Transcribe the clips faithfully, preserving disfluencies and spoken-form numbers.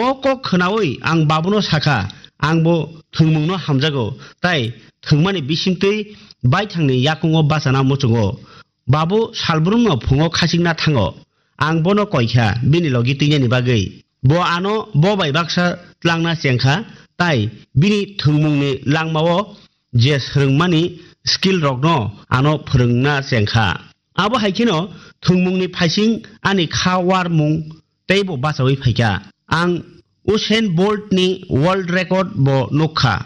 O kok khwnaui ang babuno sakha, "Angbo thwngmungno hamjago, tai thwngmani bisingtwi baithangni yakungo bachana muchungo." Babu salbrumno phungo khachikna thango. Ang bono koikha bini logi twinani bagwi. Bo ano bo bai baksa tlangna chengkha, tai bini thwngmungni langmao je swrwngmani skill rokno ano phwrwngna chengkha. Abo hai kheno thwngmungni phaising ani kha warmung teibo bachaui phaikha. Ang Usain Bolt ni world record bo nukkha.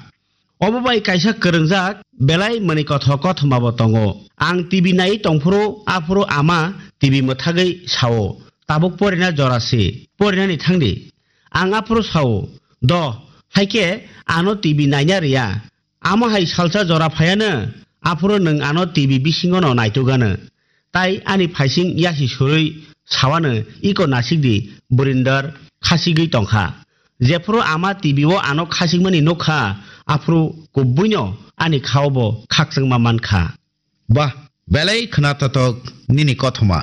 Obo bai kaisa kwrwngjak belai mani kotho kothoma bo tongo. Ang T V nai tongphuru aphuru ama T V mwthagwi sao, "Tabuk porina jora se, porinani thangdi." Ang aphuru sao, "Do, haikhe ano T V naina riya." Amo hai salsa jora phaiano, aphuru nwng ano T V bisingono naitugano. Tai ani phaising yasi surui sawano, "Iko nasikdi, Burinder khasigwi tongkha." Jephuru ama T V o ano khasigmani nukha, aphuru kubuino ani khao bo khakchangma mankha. Bah, belai khwnathathok nini kothoma.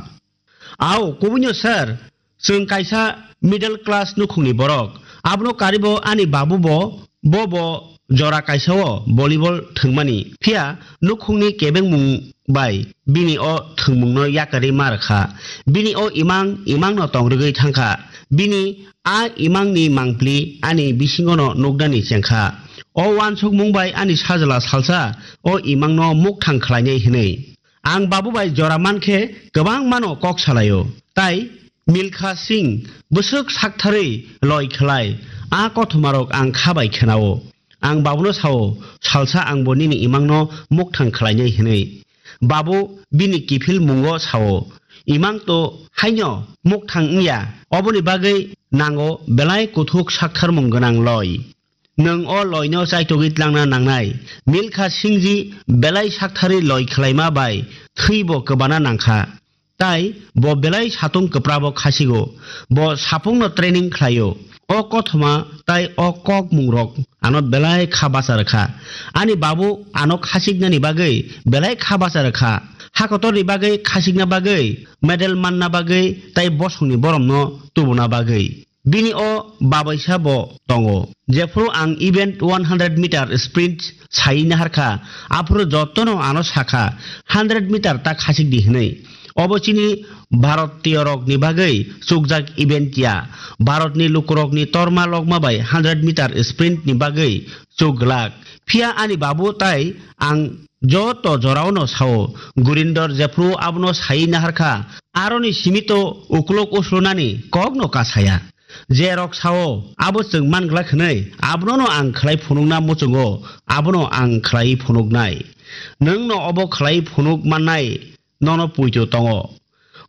Ao, kubuino sir, chwng kaisa middle class nukhungni borok. Abono karibo ani babu bo, bo bo jora kaisa o volleyball thwngmani. Phiya nukhungni kebengmung bai bini o thwngmungno yakarwi ma rwkha. Bini o imang, imangno tongrwgwi thangkha. Bini a imangni mangpli ani bisingono nuknani chengkha. O uansukmung bai ani sajla salsa o imangno mukthang khlainai hwnwi. Ang babu bai jora mankhe kwbangmano kok salaio. Tai Milkha Singh bwswk saktharwi loi khlai, a kothomarok ang kha bai khenao. Ang babuno sao, "Salsa angbo nini imangno mukthang khlainai," hwnwi. Babu bini kiphil mungo sao, "Imang to haino mukthang wngya, oboni bagwi nango belai kuthuk saktharmung gwnang loi." Nwng o loino chaitogwi tlangna nangnai. Milkha Singhji belai saktharwi loi khlaima bai thwibo kwbana nangkha. Tai bo belai satung kwprabo khasigo. Bo sapungno training khlaio. O kothoma tai o kokmungrok ano belai kha bacha rwkha. Ani babu ano khasiknani bagwi belai kha bacha rwkha. Hakotorni bagwi khasikna bagwi, medal manna bagwi tai bosongni boromno tubuna bagwi. Bini o babaisa bo tongo. Jephuru ang event one hundred meter sprint sai naharkha, aphuru jotono ano sakha, "Hundred meter ta khachik di," hwnwi. Obo chini Bharatiyorokni bagwi chukjak event ya. Bharatni lukurokni torma lokma bai hundred meter sprint ni bagwi chuk glak. Phiya ani babu tai ang joto joraono sao, Gurinder jephru abono sai naharkha, aroni simi to uklok uslunani kokno kasaya. Jerok sao, abo chwng manglak hwnwi, abonono ang khlai phunukna muchungo, abono ang khlai phunuknai. Nwngno obo khlai phunuk mannai, nono puitu tongo.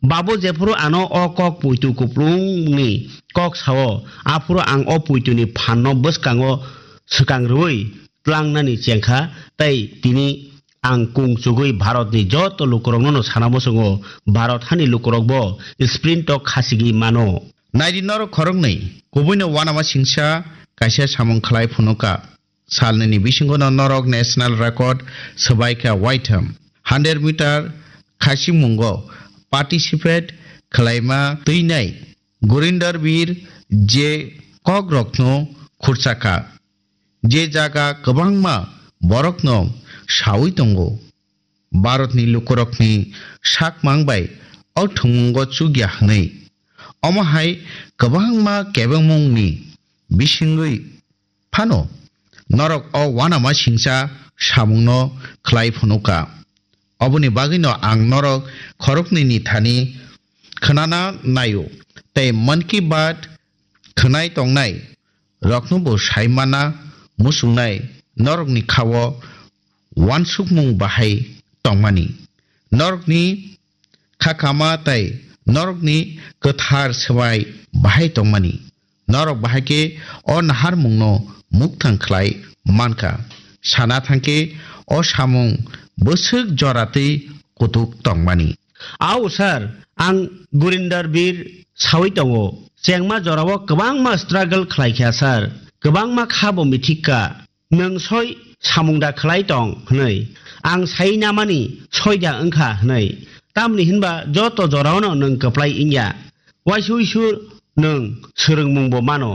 Babu jephuru ano o kok puitu kuplungni kok sao, aphuru ang o puituni phanno bwskango swkang rwui tlangnani chengkha, tei tini ang kung chugui Bharatni joto lukuroknono sana muchungo, Bharat hani lukurokbo sprint o khasigwi mano. Naidi norok khoroknwi, kubuino uanama singsa kaisa samung khlai phunuka. Salnini bisingono norok national record swbaikha waitham. Hundred meter khasimungo participate khlaima twinai Gurinder Bir je kokrokno khurchakha, je jaga kwbangma borokno saui tongo. Bharatni lukurokni sakmang bai o thwngmungo chukya hwnwi. Omo hai kwbangma kebengmungni bisingwi phano norok o uanama singcha samungno khlai phunuka. Oboni bagwino ang norok khoroknwini thani khwnana naio, tei Mann Ki Baat khwnai tongnai roknobo sai mana muchungnai norokni khao uansukmung bahai tongmani, norokni kha kama tei norokni kwthar swbai bahai tongmani. Norok bahai khe o naharmungno mukthang khlai mankha. Sana thangkhe o samung bwswk joratwi kutuk tongmani. Ao sir, ang Gurinder Bir saui tongo. Chengma jorao kwbangma struggle khlaikha sir. Kwbangma kha bo mithikka. Nwng soi samung da khlai tong hwnwi. Ang sai namani soi da wngkha hwnwi. Tamni hinba joto joraono nwng kwplai wngya. Waisui sur nwng swrwngmungbo mano.